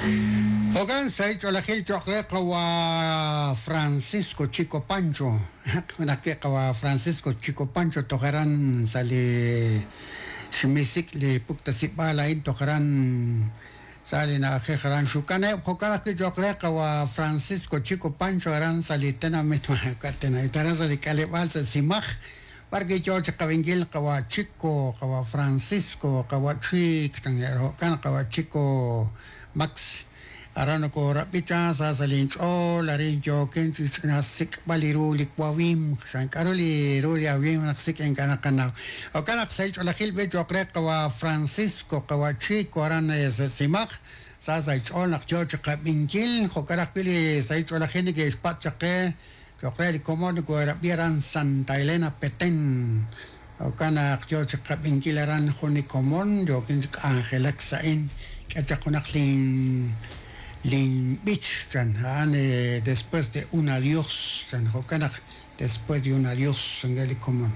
Jo'kan sahil ch'oolejil cho'q re qawa' Francisco Chico Pancho. Jun ajwi' qawa' Francisco Chico Pancho toj aran sa' li xmisik' li puktasib'aal a'in toj aran sa' li na'ajej aran Xukaneb'. Jo'kan ajwi' cho'q re qawa' Francisco Chico Pancho aran sa' li tenamit tenamit aran sa' li k'aleb'aal sa' Simaj. B'ar wi' yoo chi qab'inkil qawa' Chico, qawa' Francisco, qawa' Chik, jo'kan qawa' Chico Max. Aran nokoorab'i cha sa sa' linch'ool arin yookin chi ch'ina xsik'b'al li ru li wawimq chan k'aru li ru li awimq naq sik' ink'a' naqanaw. Jo'kan naq sahil ch'oolejil b'i cho'q re qawa' Francisco, qawa' Chico aran sa' Simaj, sa sa' xch'ool naq yoo chi qab'inkil, jo'kan ajwi' li sahil ch'oolejil neke'xpatz' chaq qe cho'q re li komon nokoorab'i aran Santa Elena Petén. Jo'kan naq yoo chi qab'inkil aran jun li komon yookin chi k'anjelak sa'in k'e chaq junaq lin lin b'ich chan a'an después de un adiós chan jo'kan naq después de un adiós chan li komon.